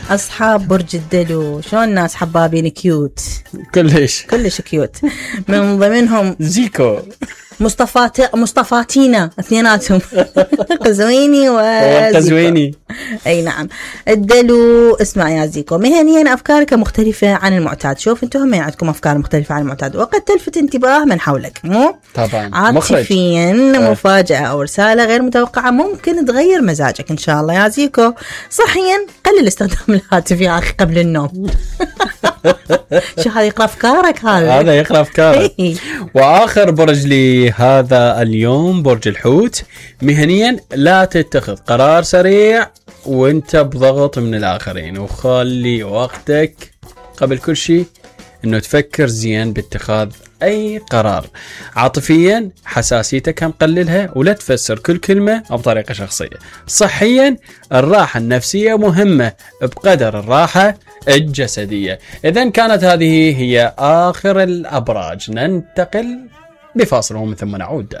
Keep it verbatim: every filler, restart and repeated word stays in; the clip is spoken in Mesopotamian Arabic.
أصحاب برج الدلو شلون ناس حبابين كيوت كلش كلش كيوت. من ضمنهم زيكو مصطفات مصطفاتينا اثنيناتهم قزويني وقزويني. اي نعم. الدلو اسمع يا زيكو، مهنيا افكارك مختلفه عن المعتاد. شوف انتم هم عندكم افكار مختلفه عن المعتاد وقد تلفت انتباه من حولك، مو طبعا. عاطفيا مفاجاه او رساله غير متوقعه ممكن تغير مزاجك ان شاء الله يا زيكو. صحيا قلل استخدام الهاتف يا اخي قبل النوم. شو هذا يقرأ أفكارك؟ هذا هذا يقرأ أفكارك. وآخر برج لي هذا اليوم برج الحوت. مهنيا لا تتخذ قرار سريع وانت بضغط من الآخرين، وخلي وقتك قبل كل شيء انه تفكر زين باتخاذ اي قرار. عاطفيا حساسيتك هم قللها ولا تفسر كل كلمة بطريقة شخصية. صحيا الراحة النفسية مهمة بقدر الراحة الجسدية. إذن كانت هذه هي آخر الأبراج. ننتقل بفاصل ومن ثم نعود.